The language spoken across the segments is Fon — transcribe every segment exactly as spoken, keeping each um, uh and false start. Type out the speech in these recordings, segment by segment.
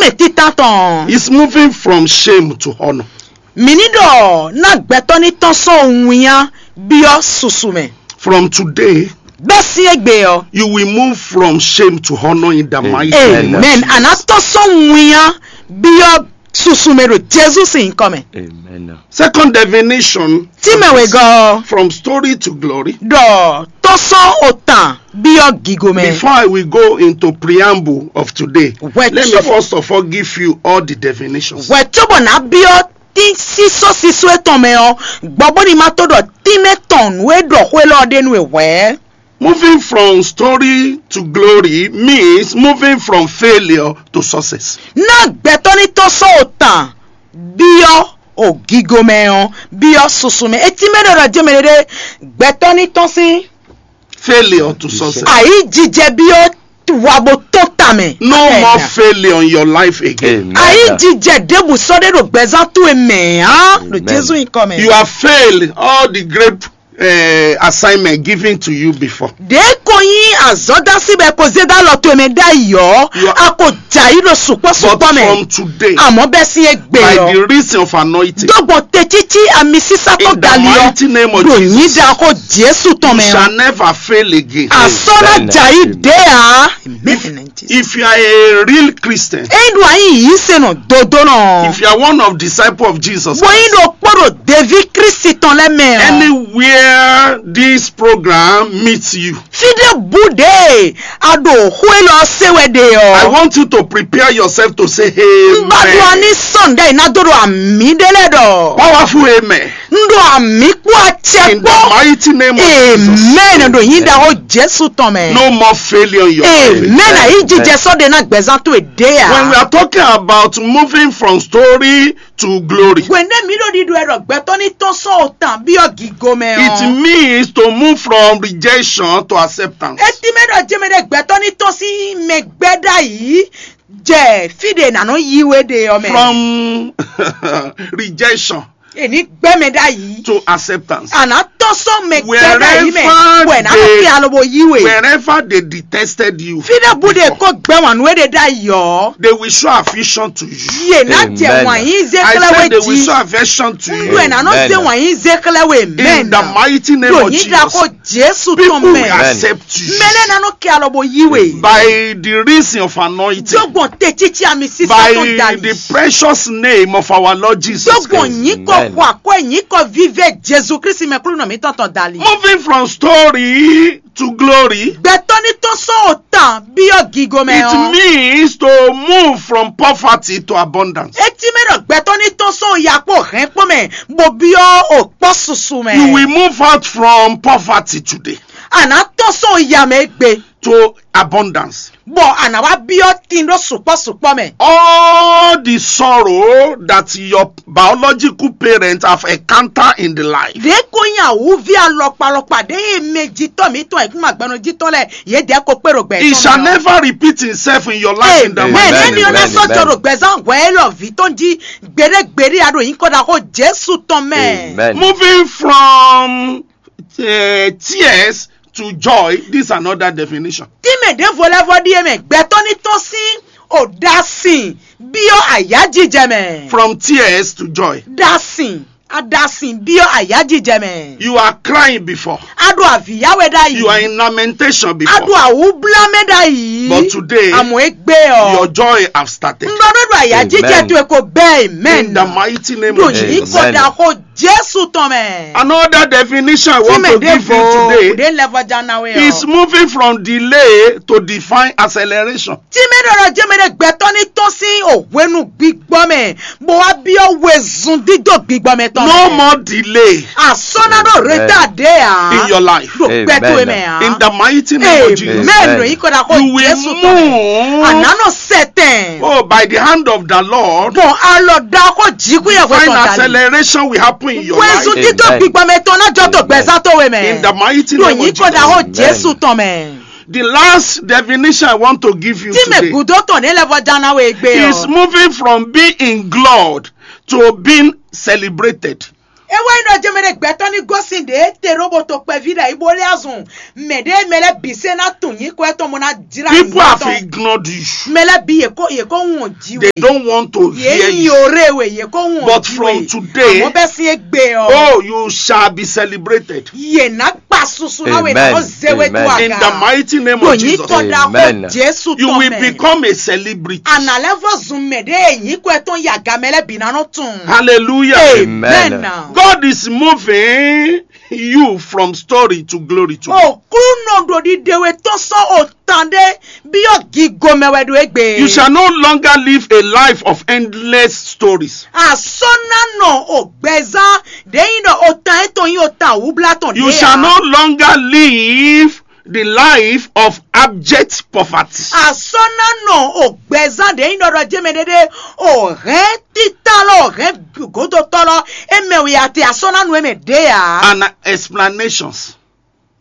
Mɛ títán tɔn. Is moving from shame to honor. Mǐ ní ɖɔ ná gbɛtɔ́ ní tɔ́n sɔ́ winnyá byɔ́ susu mɛ. From today, Bɛ́ sín égbé ɔ́. You will move from shame to honor in the mighty name of Amen. Jesus. Àná tɔ́n sɔ́ winnyá byɔ́ susu mɛ ɖo Jezu sín nyǐkɔ mɛ. Amen. Second definition, Tí mɛ wegɔ́ ɔ́. From story to glory. Ɖɔ tɔ́n sɔ́ otàn byɔ́ gigo mɛ. Before I will go into preamble of today, Well, let me so- first of all give you all the definitions. Hwɛ cóbɔ ná byɔ́ tín sísɔ́ sísɔ́ etɔn mɛ ɔ́, gbɔ bó ní ma tó ɖɔ tínmɛ tɔn nǔ e ɖɔ xó élɔ́ ɖe nú e hwɛ̌. Moving from story to glory means moving from failure to success. Ná gbɛtɔ́ ní tɔ́n sɔ́ otàn byɔ́ ògígo mɛ ɔ́, byɔ́ susu mɛ. Etí mɛ ɖɔ ɖɔ jɛmɛ ɖé, gbɛtɔ́ ní tɔ́n sín Failure to success. Ayǐjijɛ byɔ́ wa bó tó ta mɛ. No more failure in your life again. Amen. Ayǐjijɛ ɖěbǔ sɔ́ ɖé ɖo gbɛzán towe mɛ á ɖo Amen. Jezu nyǐkɔ mɛ. You have failed all the great uh, assignment given to you before. Ɖě ko nyí azɔ̌dásí bɛ ko zé dó alɔ towe mɛ ɖ'ayǐ ɔ́, You are- a ko jɛ ayǐ ɖo But sukpɔ́sukpɔ mɛ. From today, Àmọ́ bɛ́ sín égbé by ɔ́, the reason of anointing, dó gbɔn tecící amisísá tó in the dali ɔ́, mighty name of ɖo Jesus, nyídá xó Jésù tɔn you mɛ shall ɔ́. Never fail again. Àsɔ́ ná Amen. jɛ ayǐ ɖě ǎ. If you are a real Christian, Eyi ɖo ayǐ yǐ se nɔ dodó nɔ. If you are one of disciple of Jesus, Bó yín ɖo kpó ɖo deví Kristi tɔn lɛ́ mɛ ɔ́. Anywhere this program meets you, Fí ɖé bú ɖě a ɖo xó élɔ́ se wɛ ɖe I ɔ́. Want you to prepare yourself to say N ba ɖo amen. Ani sɔn ɖe na do ɖo ami ɖe lɛ ɖɔ. Powerful amen. N ɖo ami kpó acɛ In the kpó. Mighty name of Jesus. Amen. Ɖo yín ɖaxó Jésù tɔn mɛ. No more failure in your life. Amen. Ayi jijɛ sɔ́ ɖe na gbɛzán tó e ɖe When we ya. Are talking about moving from story to glory, Hwɛndɛ mi ɖo ɖiɖɔ ɛ ɖɔ gbɛtɔ ní tɔn sɔn o tan byɔ gigo mɛ It ɔ. Means to move from rejection to acceptance. Eti mɛ ɖɔ jɛmɛ ɖe gbɛtɔ ní tɔn sí mɛ gbɛ ɖa yìí jɛ fi ɖe nanɔ yi we ɖe ɔ mɛ. From rejection. Èní gbɛ mɛ ɖa yìí. To acceptance. Àná tɔn sɔn mɛ gbɛ ɖa yìí mɛ. Wherever Wɛ nanɔ they- kí alobo yi we. Wherever they detested you, Fi ɖe bu ɖe kó gbɛ wan nú e ɖe ɖa yìí ɔ. They will show affection to you. Yè ná jɛ Amen. Wàn yín zé I xlɛ said we they will jí. Show affection to you. Ndu ẹ̀ nanɔ Amen. Zé wàn yín zé xlɛ we In the mɛn. Mighty name Ɖo of yín ɖa Jesus. Ko Jésù People tɔn will mɛ. Accept you. Mɛlɛ nanɔ kí alobo yi we. By the reason of anointing. Dzogbɔn te títí ami sísá By tó dali. The precious name of our Lord Jesus Dzogbɔn Christ. yín kɔ Amen. xɔ akɔ yín kɔ vive Jésù Kristi mɛ kúlú nɔ mi tɔn tɔn dali. Moving from story to glory. Gbɛtɔ ní tɔn sɔn o tan byɔ gigo mɛ It ɔ. Means to move from poverty to abundance. Eti mɛ ɖɔ gbɛtɔ ní tɔn sɔn o ya kpó hɛn kpó mɛ bó byɔ o kpɔ susu mɛ. You will move out from poverty today. Àná tɔn sɔn o ya mɛ gbe. To abundance. Bɔ àná wá byɔ tin ɖo sukpɔ sukpɔ mɛ. All the sorrow that your biological parents have encountered in the life. Ɖě kó nyí awúví alɔkpalɔkpa ɖě e mɛ jitɔ́ mǐtɔn e kún ma gbɛnɔ jitɔ́ lɛ yě dɛ ko kpé ɖo gbɛ. It shall never repeat itself in your life in the mighty name of Jesus. Amen. Ɔ́ sɔ́ jɔ ɖo gbɛzán hwɛ élɔ́ vǐ tɔn jí gbeɖé gbeɖé a ɖo nyǐkɔ ɖaxó Jésù tɔn mɛ. Amen. Moving from uh, tears to joy, this is another definition. Tí mɛ ɖěvo lɛ́ vɔ ɖíe mɛ gbɛtɔ́ ní tɔ́n sín o ɖasin byɔ́ ayájíjɛ mɛ. From tears to joy. Ɖasin aɖasin byɔ́ ayájíjɛ mɛ. You are crying before. A ɖo avǐyáwɛ ɖ'ayǐ. You are in lamentation before. A ɖo awúblámɛ ɖ'ayǐ. But today, àmọ́ égbé ɔ. Your joy have started. Ŋgɔ ɖo ɖo ayájíjẹ to e ko bɛɛ amen. In the mighty name of Jesus. Ɖo yín kɔ da xó Jésù tɔn mɛ. Another definition I want to give you today. Ɖe lɛ vɔjá na we ɔ. Is moving from delay to divine acceleration. Tí mɛ ɖɔ ɖɔ jẹ́ mɛ ɖe gbɛtɔ́ ní tɔ́n sín o hwenu gbígbɔ mɛ bó wá byɔ́ wezun dídó gbígbɔ mɛ tɔn. No more delay. Àsɔ́nà ɖo retard ɖe à. In your life. Ɖo gbɛtɔ́ mɛ à. In the mighty name of Jesus. Amen. Yí kɔ da xó Jésù tɔn. You will move. Ànánɔ sɛtɛn. Oh, by the hand of the Lord. Bɔn alɔ da xó jǐkú yɛ hwɛ tɔn dali. Divine acceleration will happen in your life. Wezun dídó gbígbɔ mɛ tɔn náà jọ tó gbɛzán tó we mɛ. In the mighty name of Jesus. Ɖo yí kɔ da xó Jésù tɔn mɛ. The last definition I want to give you today. Tí mɛ gúdó tɔn ní lɛ vɔ jáná we gbé ɔ. Is moving from being ignored to being celebrated. É wɛ nyí ɖɔ jɛmɛ ɖé gbɛtɔ́ ní gosín ɖě te ɖó bo to kpɛví ɖo ayǐ bó lé azɔn mɛ ɖé mɛ lɛ́ɛ bǐ sɛ́ ná tunwun nyǐkɔ étɔn bó ná jlá People have ignored you. Mɛ lɛ́ɛ bǐ yě kó yě kó wɔn jí They we. Don't want to Yě hear nyi you. Oré we yě kó wɔn But jí from we. Today, Àmọ́ bɛ́ sín égbé ɔ. Oh, you shall be celebrated. Yě ná kpa susu ná we ná Amen. Zé we tó Amen. In the aga. Mighty name Ɖo of Jesus, nyǐkɔ ɖaxó Amen. Jésù You tɔn will mɛ. Become a celebrity. Àná lɛ́ vɔ zun mɛ ɖé nyǐkɔ étɔn yi aga mɛ lɛ́ɛ bǐ ná nɔ tunwun. Hallelujah. Amen. Amen. God is moving you from story to glory to. Òkúnɔ ɖo ɖiɖe we tɔn sɔ́ òtan ɖé byɔ́ gigo mɛ wɛ ɖo égbé. You shall no longer live a life of endless stories. Àsɔ́nánɔ ògbɛzán ɖě nyí ɖɔ òtan étɔn nyí òtan wúblá tɔn You ɖé shall ǎ. No longer live the life of abject poverty. Àsɔ́nánɔ ògbɛzán ɖě nyí ɖɔ ɖɔ jɛmɛ ɖéɖé ò hɛn títá lɔ ò hɛn gǒdotɔ́ lɔ é mɛ wɛ a te àsɔ́nánɔ é mɛ ɖě ǎ. And explanations.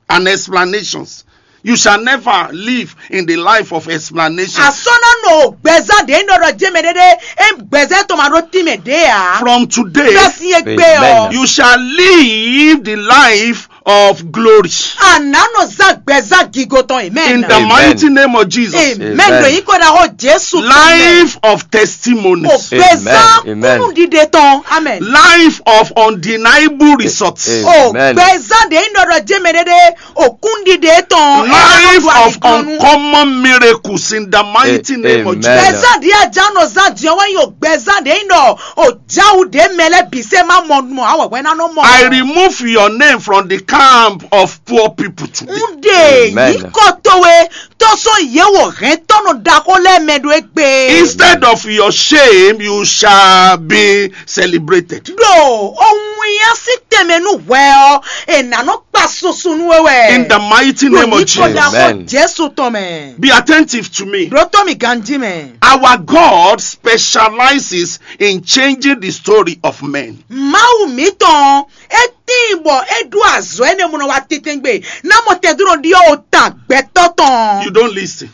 And explanations. You shall never live in the life of explanations. Àsɔ́nánɔ ògbɛzán ɖě nyí ɖɔ ɖɔ jɛmɛ ɖéɖé é gbɛzán tɔn ma ɖó tínmɛ ɖě ǎ. From today, Bɛ́ sín égbé ɔ. Amen. You shall live the life of glory. Àná nɔ zán gbɛzán gigo tɔn amen. In the Amen. Mighty name of Jesus. Amen. Amen. Ɖo yí kó ná xó Jésù tɔn mɛ. Life of testimonies. Ògbɛzán Amen. Amen. Kúnú ɖiɖe tɔn amen. Life of undeniable results. Amen. Ògbɛzán ɖě nyí ɖɔ ɖɔ jɛmɛ ɖéɖé òkúnɖiɖe tɔn. Life of uncommon miracles in the mighty name of Jesus. Gbɛzán ɖě ajá nɔ zán din ɔ́ wɛ nyí o gbɛzán ɖě nyí ɖɔ o jáwu ɖě mɛ lɛ́ɛ bǐ sɛ́ má mɔ mɔ awɛhwɛ ná nɔ mɔ. I remove your name from the camp of poor people today. Un ɖe nyǐkɔ towe tó sɔ́ yě wɔ hɛntɔ́nɔ ɖaxó lɛ́ɛ mɛ ɖó égbé. Instead of your shame, you shall be celebrated. Ɖo owun ya sín tɛnmɛ nú hwɛ ɔ́, è nǎ nɔ kpa susu nú we wɛ. In the mighty name of Jesus. Ɖo nyǐkɔ ɖaxó Jésù tɔn mɛ. Be attentive to me. Ɖó tó mi ganjí mɛ. Our God specializes in changing the story of men. Mawu mǐtɔn é tíin bɔ é ɖó azɔ̌ énɛ́ mɔ nɔ wá tɛ́ntɛ́ngbé ná mɔ tɛndúnɔ ɖyɔ́ o tan gbɛtɔ́ tɔn. You don't listen.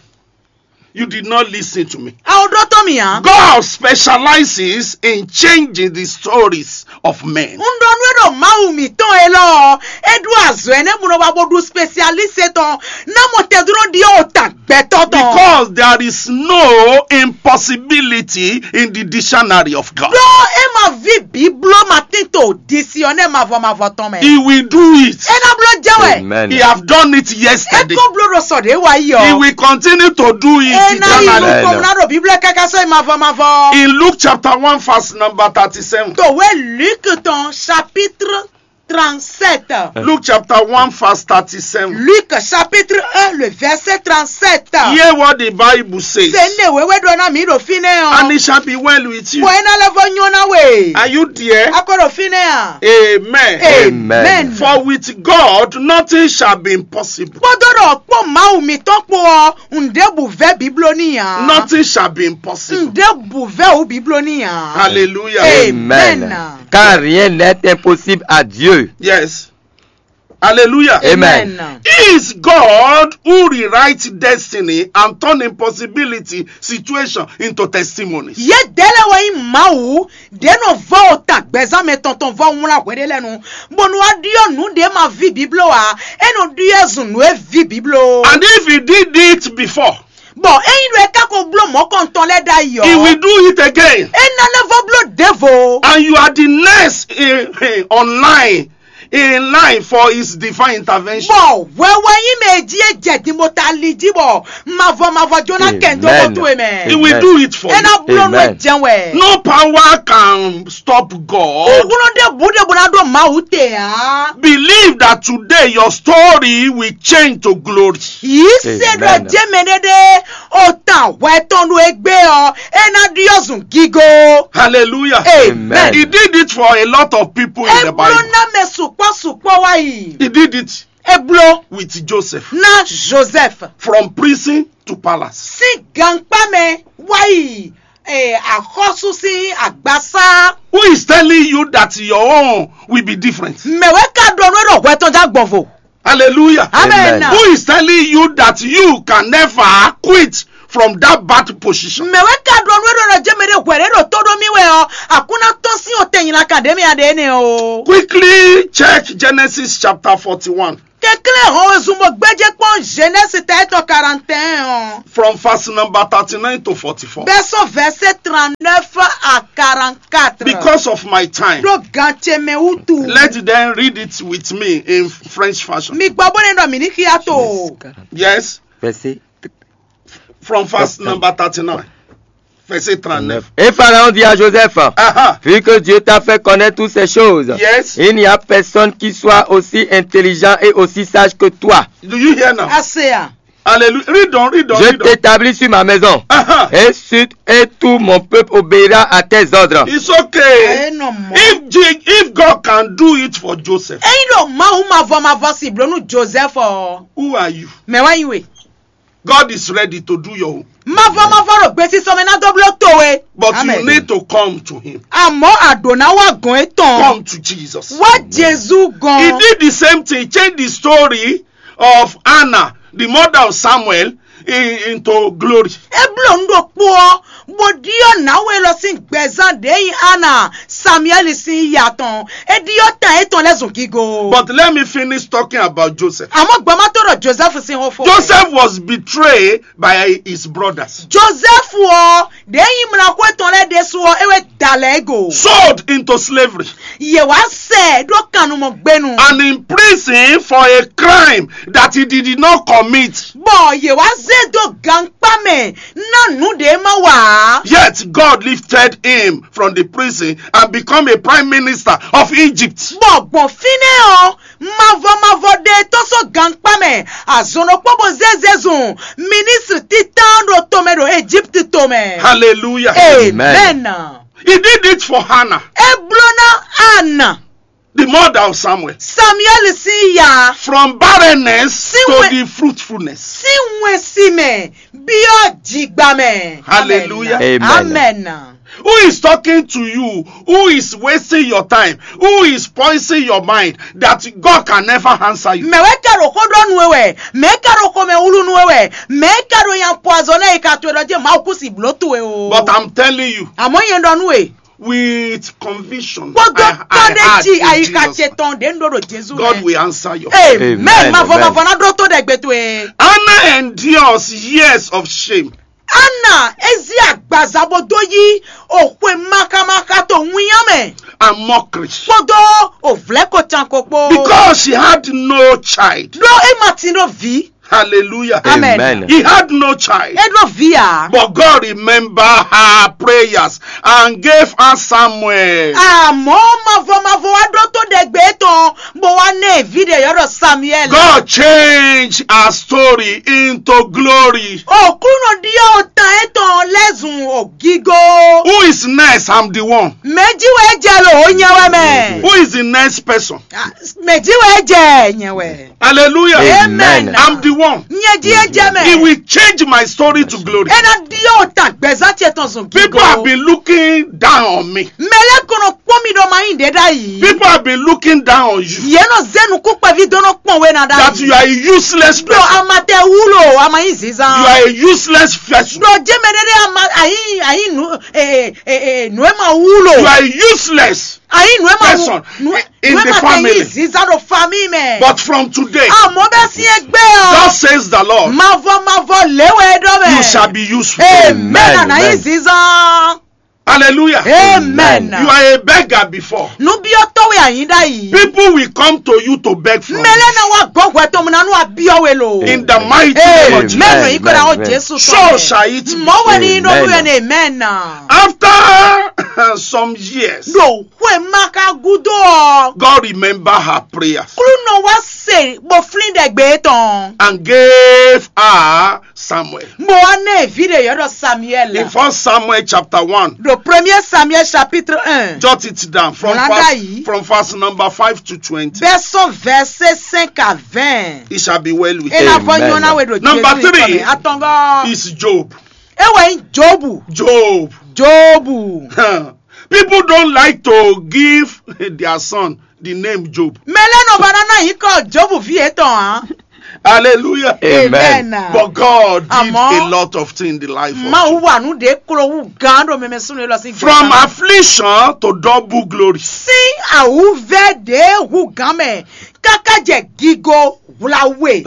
You did not listen to me. A ò ɖó tɔ́ mì ǎ. God specializes in changing the stories of men. Un ɖɔ nú é ɖo Mawu mǐtɔn élɔ́ ɔ́, é ɖó azɔ̌ énɛ́ mɔ nɔ wá bó ɖu spécialiste tɔn ná mɔ tɛndúnɔ ɖyɔ́ o tan gbɛtɔ́ tɔn. Because there is no impossibility in the dictionary of God. Ɖó é ma ví bǐbló ma tín to disi ɔ́ nɛ́ mavɔ mavɔ tɔn mɛ. He will do it. É ná bló jɛ wɛ. Amen. He have done it yesterday. É kó bló ɖo sɔ ɖě wá yi ɔ́. He will continue to do it eternally. É ná yi nukɔn ná ɖo bíblɛ káká sɔ́ yi mavɔ mavɔ. In Luke chapter one verse number thirty-seven. Tòwé Luke tɔn chapitre trente-sept. Luke chapter one verse thirty-seven. Luc chapitre un, le verset trente-sept. Hear what the Bible says. Sɛ ne wéwé ɖɔ ná mǐ ɖo fínɛ́ ɔ́. And it shall be well with you. Bɔ é ná lɛ́ vɔ nyɔ́ ná we. Are you there? A kɔ ɖo fínɛ́ a? Amen. Amen. For with God nothing shall be impossible. Kpódó ɖɔ kpó Mawu mǐtɔn kpó ɔ́, ŋɖěbǔ vɛ́ bǐbló n'i ǎ. Nothing shall be impossible. Ŋɖěbǔ vɛ́ wǔ bǐbló n'i ǎ. Hallelujah. Amen. Car rien n'est impossible à Dieu. Yes. Hallelujah. Amen. He is God who rewrites destiny and turn impossibility situation into testimonies. Yě dɛ́ lɛ́ wɛ nyí Mawu ɖě nɔ vɔ́ o ta gbɛzán mɛ tɔn tɔn vɔ́ wlán hweɖé lɛ́ɛ nu, bónú wá ɖyɔ́ nǔ ɖě ma ví bǐbló ǎ, é nɔ ɖyɔ́ zun nǔ e ví bǐbló. And if he did it before, Bɔ ényí ɖo é ka ko bló mɔ̌kɔntɔn lɛ́ɛ ɖ'ayǐ ɔ́, he will do it again. É ná lɛ́ vɔ bló ɖěvo. And you are the next in, in, online in line for his divine intervention. Bɔ hwɛ wɛ nyí mɛ e jí é jɛ din bó ta ali jí bɔ mavɔ mavɔ jó ná kɛn dó Amen. Mɔ́ towe mɛ. He will Amen. Do it for É you. Ná bló nú ɛ Amen. Jɛ́n wɛ. No power can stop God. Ògúnlọ́ ɖé bǔ ɖé bó ná ɖó Mawu te ǎ. Believe that today your story will change to glory. Yǐ se ɖɔ Amen. Jɛ́ mɛ ɖé ɖé o tan hwɛ tɔn ɖo égbé ɔ́, é ná ɖyɔ́ zun gígó. Hallelujah. Amen. He did it for a lot of people in the Bible. É bló ná mɛ sukpɔ́ sukpɔ́ wá yi. He did it É bló with Joseph. Ná Joseph. From prison to palace. Sín gankpá mɛ wá yi eh, axɔ́sú sín agbasá. Who is telling you that your own will be different? Mɛ̌ wɛ ka ɖɔ nú é ɖɔ hwɛ tɔn já gbɔn vo? Hallelujah. Amen. Amen. Who is telling you that you can never quit from that bad position? Mɛ̌ wɛ ka ɖɔ nú é ɖɔ nɔ jɛ mɛ ɖé hwɛ ɖé ɖo tó ɖó mì wɛ ɔ́, a kún ná tɔ́n sín o tɛn nyla kan ɖě mɛ a ɖě nɛ́ o. Quickly check Genesis chapter forty-one, Kɛnklɛ́n hɔn wezun bó gbéjé kpɔ́n Genèse tɛ étɔn quarante et un ɔ́. From verse number thirty-nine to forty-four. Bɛ́ sɔ́ verset trente-neuf à quarante-quatre. Because of my time, Ɖó gan ce mɛ wútu. Let them read it with me in French fashion. Mi gbɔ bó ne ɖɔ mǐ ní xyá to. Yes, Verset from verse number thirty-nine, verset thirty-nine. Et Pharaon dit à Joseph, Aha. Vu que Dieu t'a fait connaître toutes ces choses, Yes. Il n'y a personne qui soit aussi intelligent et aussi sage que toi. Do you hear now? Ase a. Hallelujah. Read on, read on, Je read on. T'établis sur ma maison Aha. Et sur et tout mon peuple obéira à tes ordres. It's okay. Eno mɔ. If Je- if God can do it for Joseph, Eyin ɖo Mawu mavɔ mavɔ si bló nú Joseph ɔ. Who are you? Mɛ wá yi we. God is ready to do your own. Mavɔ mavɔ ɖo gbesisɔ mɛ ná dó bló towe. But Amen. You need to come to him. Àmọ́ àdó ná wá gɔn é tɔn. Come to Jesus. Wá Jezu He gɔn. Did the same thing. He changed the story of Hannah, the mother of Samuel, in, into glory. É bló nú ɖokpó ɔ́, bó ɖyɔ́ nǎwe lɔ sín gbɛzán ɖě nyi Ana Samuɛ́li sín ya tɔn. É ɖyɔ́ tan étɔn lɛ́ɛ zun gígo. But let me finish talking about Joseph. Àmọ́ gbɔn má tó ɖɔ Joseph sín xó fó. Joseph was betrayed by his brothers, Joseph ɔ, ɖě nyi mlɔxó étɔn lɛ́ɛ ɖésú ɔ́, é wɛ da lɛ̌ go. Sold into slavery, Yě wá sɛ ɖó kannumɔ gbénu. And in prison for a crime that he did not commit. Bɔ yě wá zé dó gankpá mɛ ná nǔ ɖě má wa ǎ. Yet God lifted him from the prison and become a prime minister of Egypt. Bɔ gbɔn fínɛ́ ɔ́, mavɔ mavɔ ɖe tɔ́ sɔ́ gankpá mɛ, azɔn ɖokpó bó zé zezun minisitri títán ɖo tomɛ ɖo Egypt tomɛ. Hallelujah. Amen. He did it for Hannah, É bló ná Ana, the mother of Samuel, Samuel sín ya, from barrenness See to what- the fruitfulness. sín wɛn si mɛ, byɔ́ jigba mɛ. Hallelujah. Amen. Amen. Who is talking to you? Who is wasting your time? Who is poisoning your mind that God can never answer you? Mɛ wɛ ka ɖo xó ɖɔ nú we wɛ, mɛ ka ɖo xomɛ wlú nú we wɛ, mɛ ka ɖo nya poison ɛ ka to ɖɔ jɛ Mawu kú si bló towe o. But I'm telling you, Àmọ́ yẹn ɖɔ nú we. With conviction, Kpɔdɔ I, I tɔn ɖe heard tsi in ayika Jesus' ce name. Tɔn ɖe ndo ɖo Jesu God mɛ. Will answer you. Amen. Amen, Mavɔ amen. Mavɔ na ɖo to ɖe gbe towe. Anna endures years of shame. Ana ezi agbaza bo do yi o xwe maka maka to ŋunya mɛ. And mockery. Kpɔdɔ o vlɛ ko can ko kpo. Because she had no child. Ɖo e ma tin ɖo vi. Hallelujah. Amen. Amen. He had no child. E ɖo vi a. But God remember her prayers and gave her Samuel. Àmọ́ Mavɔ Mavɔ wa ɖo to ɖe gbe tɔn bo wa ne vi ɖe yɔ ɖɔ Samuel. God changed her story into glory. Òkúnɔ ɖíɔ o tan etɔn lɛzun o gigo. Who is next? I'm the one. Mɛji wɛ jɛ lo o nyɛ wɛ mɛ. Who is the next person? Mɛji wɛ jɛ nyɛ wɛ. Hallelujah. Amen. Amen. I'm the one. Nyɛji e jɛ mɛ. He will change my story to glory. Ena ɖíɔ o tan gbɛzán ce tɔn zun gigo. People have been looking down on me. Mɛlɛ kɔnɔ kpɔn mi ɖɔ ma yi ɖe ɖa yi. People have been looking down on you. Yɛn nɔ zɛ nukú kpɛvi dɔnɔ kpɔn wɛ na ɖa. That you are a useless Ɖɔ person. Ama tɛ wúlò Ama yi You zizan. Are a useless person. Ɖɔ jɛ mɛ ɖe ɖe Ama ayi ayi nu ee ee ee nu e ma wúlò. You are useless. Ayi nu e ma Person nu in nu e the ma tɛ family. Yi zizan ɖo famille mɛ. But from today, Àmọ́ bɛ si egbe ɔ. Thus says the Lord, Mavɔ mavɔ léwɛ ɖɔ mɛ. You shall be useful. Amen. Amen, Ana yi amen. Zizan. Hallelujah. Amen. You are a beggar before. Nubiɔtɔ wɛ anyi ɖa yi. People will come to you to beg from you. Mɛlɛ na wa gɔgɔɛ tɔmɔ na nu abiɔ we lo. In the mighty name of Amen. Jesus. Mɛlɛ yi kɔ na o Amen. Jesu So sɔ. Shall it be. Mɔ wɛ ni nɔ Amen. wɛ ne amen na. After some years, Ɖo xwe ma ka gudo ɔ. God remember her prayers. Klunɔ wa se bo flin ɖe gbe tɔn. And gave her Samuel. Mo wa ne vi ɖe yɔ ɖɔ Samuel. In First Samuel chapter one, Ɖo premier Samuel chapitre un. Jot it down from Mlada verse, yi. From verse number five to twenty. Bɛ sɔn verset cinq à vingt. It shall be well with E na you. vɔ nyɔ na Amen. we ɖo Number Jesu three. Tɔn mɛ. Atɔngɔ. Is Job. E wɛ nyi Jobu. Job. Jobu. People don't like to give their son the name Job. Mɛlɛ nɔ ba na na yi kɔ Jobu vi etɔn a. Hallelujah. Amen. But God did Àmọ́, a lot of things in the life of Mawu Job. Wa nǔ ɖě klo wú gán ɖo mɛmɛ súnnu élɔ́ sín From gbèsè. Affliction to double glory. Sín àwùvɛ́ ɖě hú gán mɛ káká jɛ gigo hwlawe.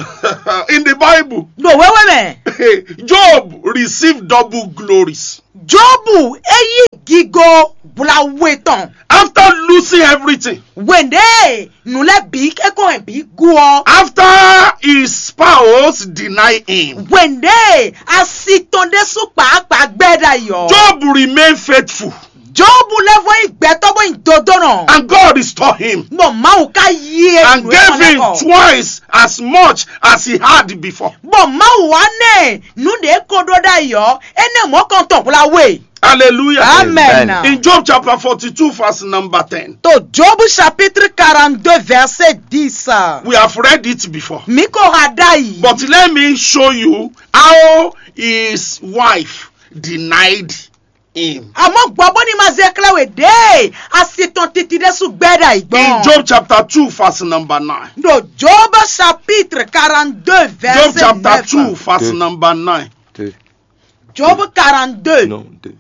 In the Bible, Ɖo wéwé mɛ, Job received double glories. Jobu é yí gigo hwlawe tɔn. After losing everything, Wěndé nǔ lɛ́ɛ bǐ é kó hɛn bǐ gú ɔ́. After his spouse denied him, Wěndé asi tɔn ɖésú kpǎkpá gbɛ ɖ'ayǐ ɔ́. Job remained faithful Jobu lɛ́ vɔ nyí gbɛtɔ́ bó nyí dodónɔ. and God restored him Bɔ Mawu ka yí e and nǔ gave étɔn lɛ́ him kɔ. Twice as much as he had before. Bɔ Mawu wá nɛ nǔ ɖě kó ɖó ɖ'ayǐ ɔ́, énɛ́ mɔ̌ kɔn tɔn hwlawe. Hallelujah. Amen. Amen. In Job chapter forty-two, verse number ten, To Jobu chapitre quarante-deux verset dix. We have read it before. Mi ko ha ɖ'ayǐ. But let me show you how his wife denied him. Àmọ́ gbọ́ bó ní ma zɛ xlɛ́ we ɖě asi tɔn titi ɖésú gbɛ ɖ'ayǐ In gbɔn. Job chapter two, verse number nine. Ɖo Job chapitre quarante-deux Job verset chapter neuf. two, verse Deux. Number nine. Deux. Job quarante-deux. Non, deux.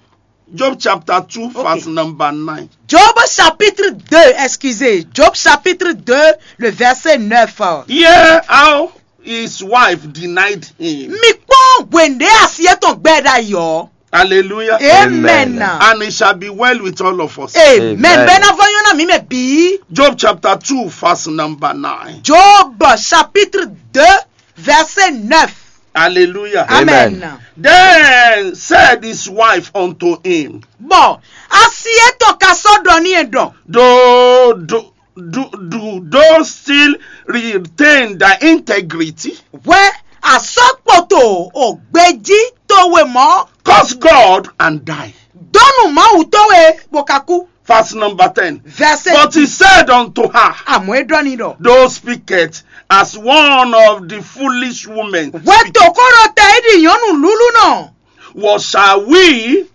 Job chapter two, Ok. Verse number nine. Job chapitre deux, excusez. Job chapitre deux, le verset neuf. Hear how his wife denied him. Mi kpɔ́n wěndé asi étɔn gbɛ ɖ'ayǐ ɔ́. Hallelujah. Amen. Amen. And it shall be well with all of us. Amen. Amen. Bɛ́ ná vɔ nyɔ́ ná mǐ mɛ bǐ. Job chapter two, verse number nine. Job chapitre deux, verset neuf. Hallelujah. Amen. Amen. Then said his wife unto him, Bɔ asi étɔn ka sɔ́ ɖɔ n'i ɖɔ. Do, do, do, do thou still retain thy integrity? Hwɛ asɔkpoto o gbejí towe mɔ. Curse God and die. Dɔnnu Mawu towe bó ka kú. Verse number ten. Verset But he said unto her, Àmọ́ é ɖɔ n'i ɖɔ. Thou speakest as one of the foolish women. Hwɛ tòkó ɖo tɛ é ɖi nyɔ̌nu lúlú nɔ. What shall we?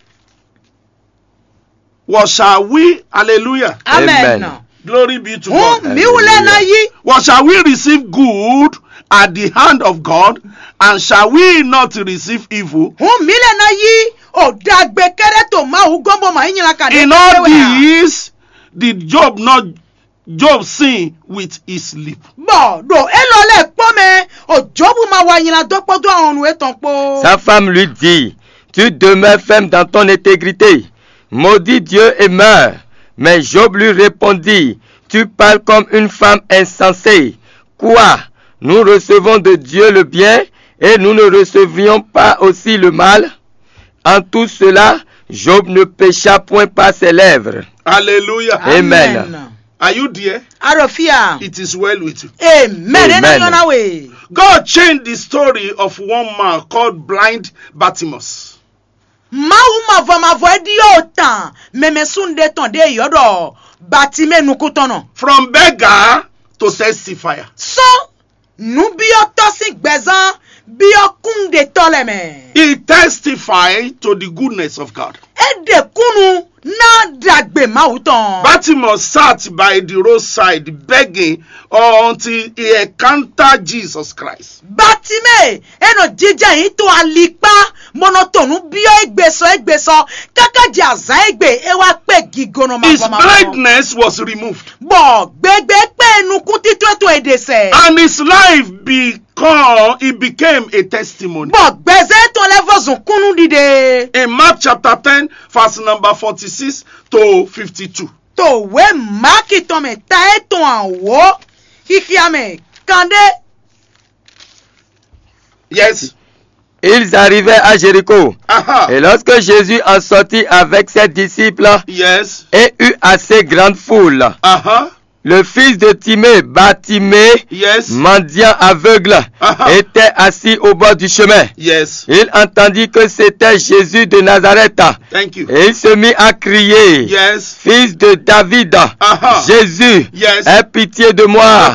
What shall we? Hallelujah. Amen. Amen. Glory be to Hun God. mi wulẹ̀ ná yí. What shall we receive good at the hand of God, and shall we not receive evil? Hun mi lɛ ná yí. O dagbe kɛɖɛ to Mawu gɔn bɔ ma yí nyla ka ɖe. In all this, did Job not Job sin with his lip? Bɔ ɖo élɔ́ lɛ kpɔ́ mɛ, o Jobu ma wa nyla dó kpódó ahɔnnu étɔn kpó. Sa femme lui dit, Tu demeures ferme dans ton intégrité. Maudis Dieu et meurs. Mais Job lui répondit, Tu parles comme une femme insensée. Quoi? Nous recevons de Dieu le bien et nous ne recevions pas aussi le mal? En tout cela, Job ne pécha point par ses lèvres. Hallelujah. Amen. Are you there? Arɔfia. It is well with you. Amen. Ena Amen. Yɔna we. God changed the story of one man called blind Bartimaeus. Mawu mavɔ mavɔ é ɖi yɔ tán mɛmɛ sunɖe tɔn ɖe yɔ ɖɔ Batimɛ nukúntɔnnɔ. From beggar to testifier. Sɔn nǔbyɔ́tɔ́ sín gbɛzán byɔ́ kúnnuɖetɔ́ lɛ́ɛ mɛ. He testified to the goodness of God. É ɖe kúnnu ná ɖagbe Mawu tɔn. Bartimaeus sat by the roadside begging until he encountered Jesus Christ. Batimɛ é nɔ jijɛ yín to alikpá bó nɔ to nǔ byɔ́ égbé sɔ égbé sɔ káká jɛ azǎn égbé é wá kpé gígɔnɔ His mavɔ mavɔ. Blindness was removed. Bɔ gbegbe kpé nukúntítɔ́ tɔn é ɖe sɛ. And his life become, it became a testimony. Bɔ gbɛzɛ tɔn lɛ vɔ zun kúnnu ɖiɖe. In Mark chapter ten, verse number forty-six to fifty-two. To wé Maki tɔn mɛ ta é tɔn àwò xixia mɛ kanɖé. Yes. Ils arrivaient à Jéricho. Aha. Et lorsque Jésus en sortit avec ses disciples Yes. et eut assez grande foule, Aha. le fils de Timée, Bartimée, Yes. mendiant aveugle, Aha. était assis au bord du chemin. Yes. Il entendit que c'était Jésus de Nazareth. Thank you. Et il se mit à crier, Yes. Fils de David, Aha. Jésus, Yes. aie pitié de moi.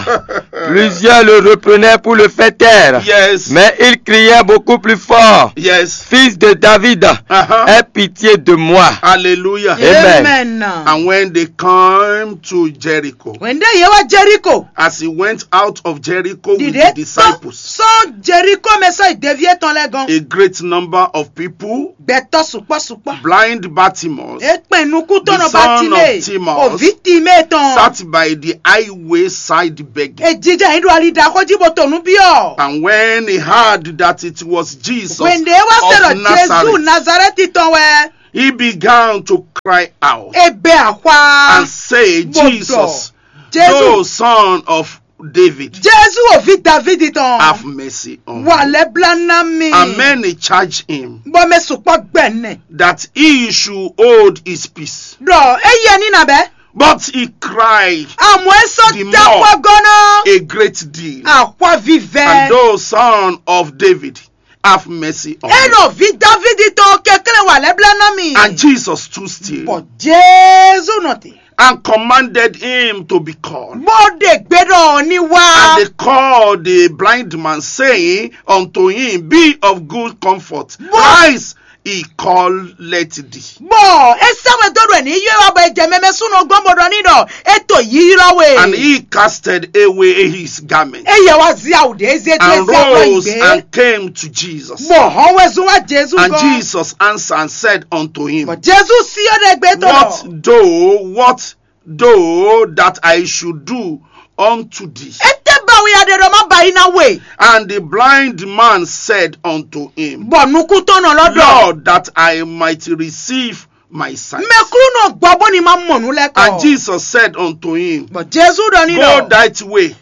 Plusieurs le reprenaient pour le faire taire. Yes. Mais il criait beaucoup plus fort, Yes. Fils de David, Aha. aie pitié de moi. Hallelujah. Amen. Amen. And when they come to Jericho, Hwɛ̌n ɖé yě wá Jeriko. As he went out of Jericho with the disciples, sɔ́ Jeriko mɛ sɔ́ yi deví étɔn lɛ́ɛ gɔ́n. A great number of people, Gbɛtɔ́ sukpɔ́ sukpɔ́. Blind Bartimaeus, é kpɛn nukúntɔ́nɔ Batimée, òví Timée tɔn. Sat by the highway side begging. È jijɛ yín ɖo ali ɖaxó jí bó to nǔ byɔ́. And when he heard that it was Jesus, hwɛ̌n ɖé wá se ɖɔ Jezu Nazarɛti tɔn wɛ. He began to cry out. É bɛ ahwa. And say, Jesus, Jezu, thou son of David, Jezu òví Davidi tɔn. Have mercy on me. Wà lɛ́ blá ná mi. And many charge him. Bɔ mɛ sukpɔ́ gbɛ nɛ. That he should hold his peace. Ɖɔ é yɛ ní nabɛ. But he cried. Àmọ́ é sɔ́ dákpɔ́ gɔ́nà. A great deal. Àkwa vívɛ. And thou son of David, have mercy on me. Eno vi Davidi tɔn kekle wà lɛ́ blá ná mi. And Jesus stood still. Bɔ Jezu nɔ te. And commanded him to be called. Bó ɖe gbe ɖɔ ní wá. And they called the blind man, saying unto him, Be of good comfort. Rise, he calleth thee. Bɔ é sɛ́ wɛ dó ɖɔ ní yɔ wá bɔ é jɛ mɛmɛ súnɔ gbɔn bó ɖɔ ní ɖɔ é to yíylɔ we. And he casted away his garment. Eye wá zí awu ɖě zé dó and rose and came to Jesus. Bɔ hɔn wɛ zún wá Jezu gɔ́n. And Jesus answered and said unto him, Bɔ Jezu sí ɔ́ ɖe gbé tɔn. What do, what do that I should do unto thee? Étɛ́ ba wi aɖe ɖɔ má ba yí ná we. And the blind man said unto him, Bɔ nukúntɔ́nɔ lɔ ɖɔ. Lord, that I might receive my sight. Mɛklúnɔ gbɔ bó ni má mɔ nǔ lɛ́ɛ kɔ. And Jesus said unto him, Bɔ Jezu ɖɔ ní ɖɔ. Go thy way,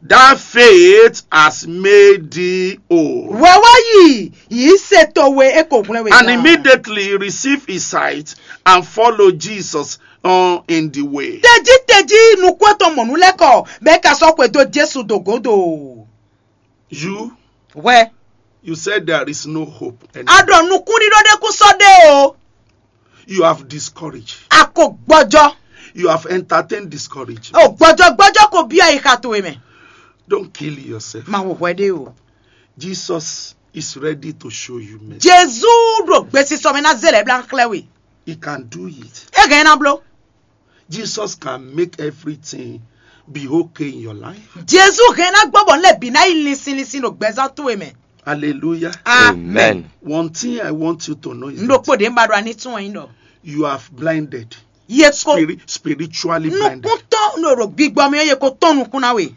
thy faith has made thee whole. Wɛ wá yi, yìí se towe é ko hwlɛ́n we. And immediately he received his sight and followed Jesus on in the way. Tejí tejí nukún tɔn mɔ nǔ lɛ́ɛ kɔ bɛ́ ka sɔ́ xwedó Jesu dó gǒdo. You, wɛ, you said there is no hope anymore. A ɖɔ nukúnɖíɖó ɖé kún sɔ́ ɖe o. You have discouraged. A ko gbɔjɔ. You have entertained discouragement. O gbɔjɔ gbɔjɔ ko byɔ́ ayixa towe mɛ. Don't kill yourself. Ma hu hwɛ ɖé o. Jesus is ready to show you mercy. Jezu ɖo gbesisɔ mɛ ná zé lɛ́ bla xlɛ́ we. He can do it. E hɛn ná bló. Jesus can make everything be okay in your life. Jezu hɛn ná gbɔ bɔ lɛ bǐ ná yi linsin linsin ɖo gbɛzán towe mɛ. Hallelujah. Amen. One thing I want you to know is n ɖokpó ɖě ń ba ɖo aní tún wɛn nyí ɖɔ. You have blinded. Ye ko spiritually blinded. Nukúntɔ́ ɖo gbigbɔ mɛ ye ko tɔ́n nukún ná we.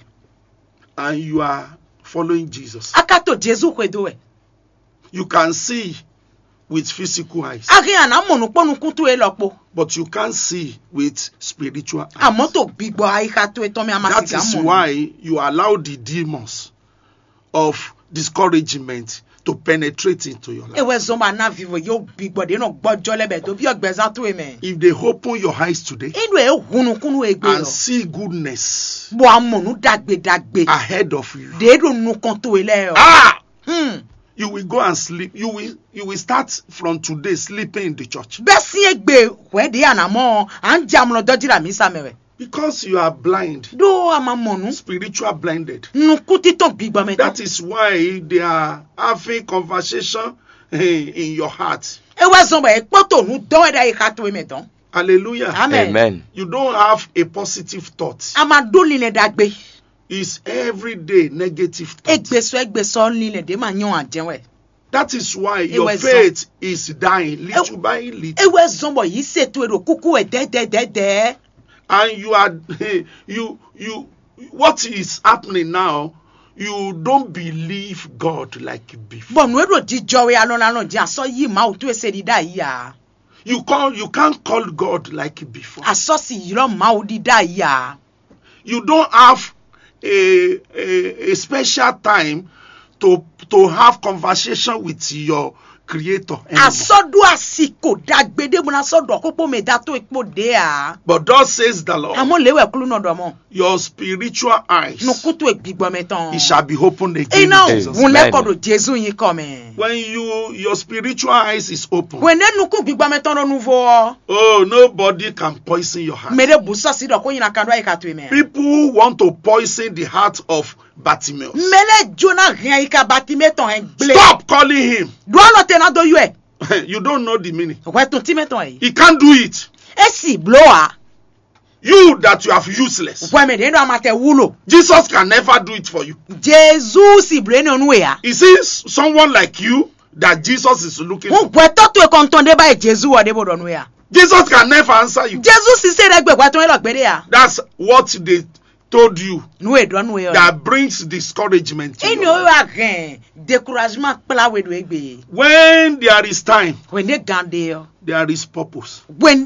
And you are following Jesus. A ka to Jezu xwedó wɛ. You can see with physical eyes. A hɛn a nǎ mɔ nǔ kpó nukún towe lɔ kpó. But you can't see with spiritual eyes. Àmọ́ to gbigbɔ ayixa towe tɔn mɛ a ma That sika is mɔ. Why you allow the demons of discouragement to penetrate into your life. Ewɛ zɔn ba ná vivo yóò gbigbɔ ɖě nɔ gbɔjɔ lɛ bɛ dó byɔ́ gbɛzán towe mɛ. If they open your eyes today Inú ẹ̀ hun nukúnnú egbe and lɔ. See goodness Bɔ a mɔ nú ɖagbe ɖagbe. Ahead of you, Ɖě ɖo nukɔn towe lɛ ɔ. Ah, hmm. You will go and sleep. You will you will start from today sleeping in the church. Bɛ́ sín égbé hwɛ̌ ɖě a nǎ mɔ ɔ́, à ń jɛ amlɔ dɔ́ jí ɖo amǐsa mɛ wɛ. Because you are blind. Ɖó a ma mɔ nǔ. Spiritual blinded. Nukúntítɔ́n gbigbɔ mɛ tɔn. That is why they are having conversation in your heart. É wá zɔn bɔ é kpɔ́ to nǔ dɔn wɛ ɖo ayixa towe mɛ dɔn. Hallelujah. Amen. Amen. You don't have a positive thought. A ma ɖó linlɛn ɖagbe. It's every day negative thought. Égbé sɔ́ égbé sɔ́ linlɛn ɖě ma nyɔ́ ǎ jɛ́n wɛ. That is why your faith is dying little by little. É wɛ zɔn bɔ yǐ se towe ɖo kúkú wɛ dɛ̌dɛ̌dɛ̌dɛ̌. And you are you you what is happening now, you don't believe God like before. Bɔ nǔ e ɖo jijɔ we alɔnalɔn jɛ asɔ yí Mawu towe se ɖi ɖ'ayǐ ǎ. You call you can't call God like before. Asɔ si ylɔ́ Mawu ɖi ɖ'ayǐ ǎ. You don't have a, a, a special time to to have conversation with your creator anymore. A sɔ́ ɖó asi ko ɖagbe ɖé bó ná sɔ́ ɖɔ xó kpó mɛ da towe kpó ɖě ǎ. But thus says the Lord, Àmọ́ lě wɛ Aklúnɔ ɖɔ mɔ. Your spiritual eyes, Nukún towe gbigbɔ mɛ tɔn. It shall be opened again. Iná in Jesus' name. Òun lẹ́kọ̀ọ́ ɖo Jésù yín kọ́ mɛ. When you your spiritual eyes is open, Hwɛ̌nɛ́ nukún gbigbɔ mɛ tɔn ɖo nuvo ɔ́. Oh, nobody can poison your heart. Mɛ ɖé bǔ sɔ́ sí ɖɔ kó nyi na kan ɖó ayika towe mɛ. People want to poison the heart of Bartimaeus. Mɛ lɛ́ɛ jó ná hɛn ayika Batimée tɔn hɛn gblé. Stop calling him. Ɖó alɔ te ná dó yɔ́ ɛ. You don't know the meaning. Hwɛ tun tí mɛ tɔn yìí. He can't do it. É sì bló a. You that you have useless. Hwɛ mɛ ɖě nɔ amatɛ wúlò. Jesus can never do it for you. Jezu si bló énɛ́ nú we ǎ. You see, s- someone like you that Jesus is looking Wọ́n for. gbɛtɔ́ towe kɔntɔn ɖé báyìí Jezu wɔ ɖé bó ɖɔ nú we ǎ. Jesus can never answer you. Jezu si se ɖɛ gbɛgbɛ tɔn élɔ́ gbé ɖé ǎ. That's what they told you Nú e ɖɔ nú we ɔ́. That brings discouragement to Énɛ́ your ó life. wá hɛn découragement kplá we ɖo égbé. When there is time, Hwɛ̌ndé gan ɖe ɔ́. There is purpose. Hwɛ̌ndé